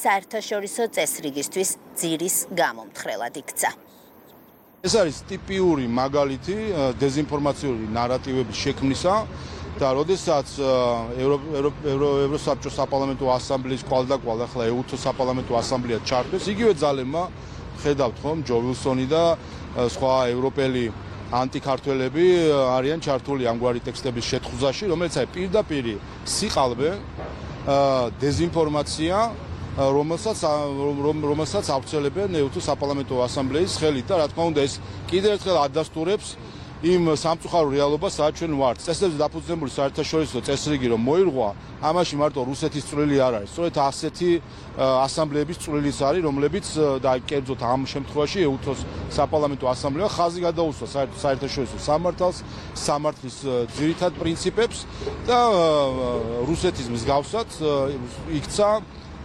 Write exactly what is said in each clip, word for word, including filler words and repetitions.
საერთაშორისო წესრიგისთვის ძირის გამომთხრელად იქცა. ეს არის ტიპიური მაგალითი დეზინფორმაციული ნარატივების შექმნისა და როდესაც ევროსაბჭოს საპარლამენტო ასამბლეის კვალდაკვალ ახლა ეუთო საპარლამენტო ასამბლეა ჩართვეს, იგივე ძალებმა ხედავთ ხომ ჯო ვილსონი და სხვა ევროპელი ანტიქართველები არიან ჩართული ამგვარი ტექსტების შეთხუზაში, რომელიც აი პირდაპირ სიყალბე დეზინფორმაცია, რომელსაც რომელსაც ავრცელებენ ეუთო საპარლამენტო ასამბლეის ხელით და რა თქმა უნდა ეს კიდევ ერთხელ ადასტურებს იმ სამწუხარო რეალობას, სადაც ჩვენ ვართ. წესებზე დაფუძნებული საერთაშორისო წესრიგი რომ მოირღვა, ამაში მარტო რუსეთის წვლილი არ არის. სწორედ ასეთი ასამბლეების წვლილიც არის, რომლებიც და კერძოდ ამ შემთხვევაში ეუთოს საპარლამენტო ასამბლეა ხაზი გადაუსვა საერთაშორისო სამართალს, სამართლის ძირითად პრინციპებს და რუსეთის მსგავსად იქცა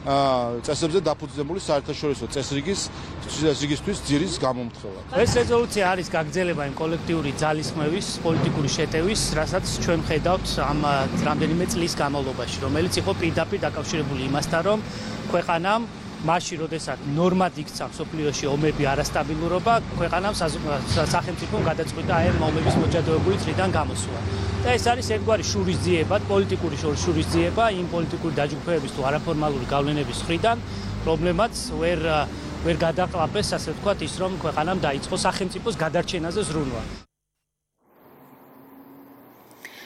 წესებზე დაფუძნებული საერთაშორისო წესრიგის წესრიგისთვის ძირის გამომთხრელად. ეს რეზოლუცია არის გაგრძელება იმ კოლექტიური ძალისხმევის, პოლიტიკური შეტევის, რასაც ჩვენ ხედავთ ამ რამდენიმე წლის განმავლობაში, რომელიც იყო პირდაპირ დაკავშირებული იმასთან, რომ ქვეყანამ მაშინ, როდესაც ნორმად იქცა მსოფლიოში ომები, არასტაბილურობა, ქვეყანამ სახელმწიფომ გადაწყვიტა აი ამ ომების მოჯადოებული წრიდან გამოსვლა. და ეს არის ერთგვარი შურისძიება, პოლიტიკური შურისძიება იმ პოლიტიკური დაჯგუფებების თუ არაფორმალური გავლენების მხრიდან, რომლებმაც ვერ ვერ გადაყლაპეს, ასე ვთქვათ, ის რომ ქვეყანამ დაიწყო სახელმწიფოს გადარჩენაზე ზრუნვა.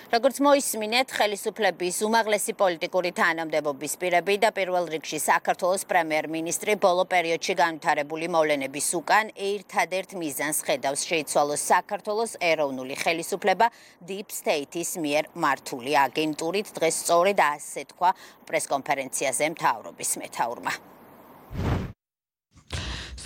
როგორც მოისმინეთ, ხელისუფლების უმაღლესი პოლიტიკური თანამდებობის პირები და პირველ რიგში საქართველოს პრემიერ-მინისტრი ბოლო პერიოდში განვითარებული მოვლენების უკან ერთადერთ მიზანს ხედავს შეიცვალოს საქართველოს ეროვნული ხელისუფლება Deep State-ის მიერ მართული აგენტურით. დღეს სწორედ ასე თქვა პრესკონფერენციაზე მთავრობის მეთაურმა.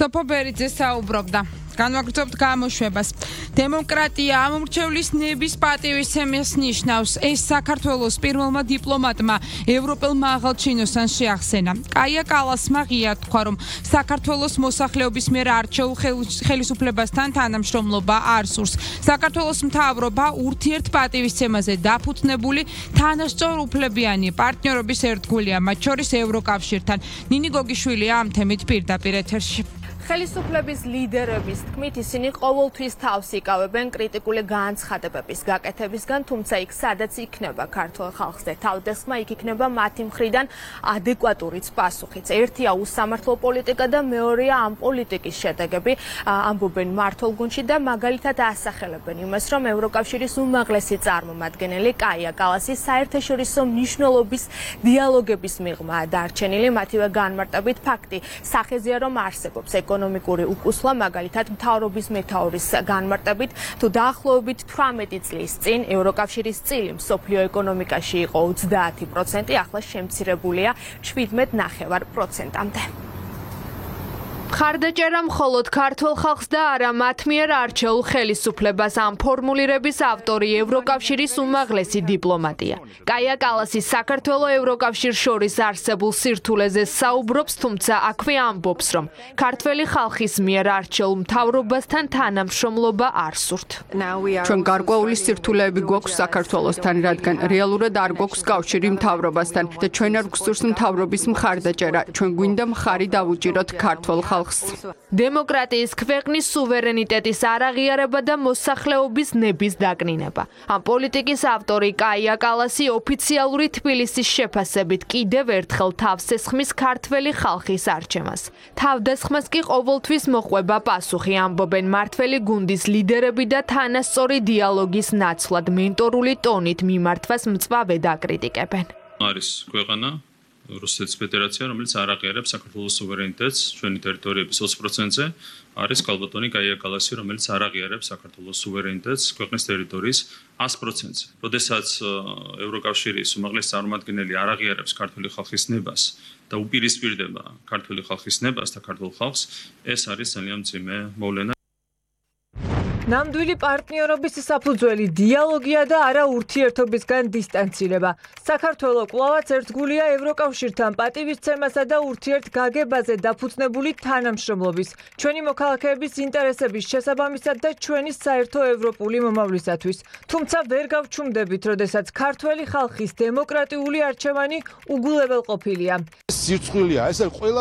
სოფო ბერიძე საუბრობდა. განვაგრძობთ გამოშვებას. დემოკრატია ამორჩევლის ნების პატივისცემას ნიშნავს. ეს საქართველოს პირველმა დიპლომატმა ევროპელმა აღალჩინოსთან შეახსენა. კაია კალასმა ღია თქვა, რომ საქართველოს მოსახლეობის მიერ არჩეულ ხელისუფლებასთან თანამშრომლობა არ სურს. საქართველოს მთავრობა ურთიერთ პატივისცემაზე დაფუძნებული თანასწორ უფლებიანი პარტნიორობის ერთგულია, მათ შორის ევროკავშირთან. ნინი გოგიშვილია ამ თემით პირდაპირ ეთერში. ხელისუფლების ლიდერების თქმით, ისინი ყოველთვის თავს იკავებენ კრიტიკული განცხადებების გაკეთებისგან, თუმცა იქ სადაც იქნება ქართულ ხალხზე თავდასხმა, იქ იქნება მათი მხრიდან ადეკვატურიც პასუხიც. ერთია უსამართლო პოლიტიკა და მეორეა ამ პოლიტიკის შედეგები, ამბობენ მმართველ გუნდში და მაგალითად ასახელებენ იმას, რომ ევროკავშირის უმაღლესი წარმომადგენელი კაია კალასი საერთაშორისო მნიშვნელობის დიალოგების მიღმაა დარჩენილი, მათივე განმარტებით ფაქტი სახეზეა, რომ არსებობს ეკონომიკური უკუსლა, მაგალითად მთავრობის მეთაურის განმარტებით, თუ დაახლოებით თვრამეტი წლის წინ ევროკავშირის წილი მსოფლიო ეკონომიკაში იყო ოცდაათი პროცენტი, ახლა შემცირებულია შვიდმეტ ნახევარ პროცენტამდე. ხარდაჭერა მხოლოდ ქართულ ხალხს და არა მათ მიერ არჩეულ ხელისუფლებას, ამ ფორმულირების ავტორი ევროკავშირის უმაღლესი დიპლომატია. კაია კალასი საქართველოს ევროკავშირს შორის არსებულ სირთულეზე საუბრობს, თუმცა აქვე ამბობს, რომ ქართველი ხალხის მიერ არჩეულ მთავრობასთან თანამშრომლობა არ სურთ. ჩვენ გარკვეული სირთულეები გვაქვს საქართველოსთან, რადგან რეალურად არ გვაქვს კავშირი მთავრობასთან და ჩვენ არ გვსურს მთავრობის მხარდაჭერა. ჩვენ გვინდა მხარი დავუჭიროთ ქართულ ხალხს. დემოკრატიის ქვეყნის სუვერენიტეტის არაღიარება და მოსახლეობის ნების დაკნინება. ამ პოლიტიკის ავტორი კაია კალასი ოფიციალური თბილისის შეფასებით კიდევ ერთხელ თავს ესხმის ქართველი ხალხის არჩევას. თავდასხმას კი ყოველთვის მოყვება პასუხი, ამბობენ მმართველი გუნდის ლიდერები და თანასწორი დიალოგის ნაცვლად მენტორული ტონით მიმართვას მწვავედ აკრიტიკებენ. არის ქვეყანა რუსეთის ფედერაცია, რომელიც არ აღიარებს საქართველოს სუვერენიტეტს ჩვენი ტერიტორიების ოცი პროცენტზე, არის კალბატონი კაია კალასი, რომელიც არ აღიარებს საქართველოს სუვერენიტეტს ქვეყნის ტერიტორიის ას პროცენტზე. როდესაც ევროკავშირის უმაღლესი წარმომადგენელი არ აღიარებს ქართული ხალხის ნებას და უპირისპირდება ქართული ხალხის ნებას და ქართულ ხალხს, ეს არის ძალიან მძიმე მოვლენა. ნამდვილი პარტნიორობის საფუძველი დიალოგია და არა ურთიერთობისგან დისტანცირება. საქართველო კვლავაც ერთგულია ევროკავშირთან პატივისცემასა და ურთიერთგაგებაზე დაფუძნებული თანამშრომლობის, ჩვენი მოქალაქეების ინტერესების შესაბამისად და ჩვენი საერთო ევროპული მომავლისათვის. თუმცა ვერ გავჩუმდებით, როდესაც ქართველი ხალხის დემოკრატიული არჩევანი უგულებელყოფილია. სირცხვილია, ეს არის ყველა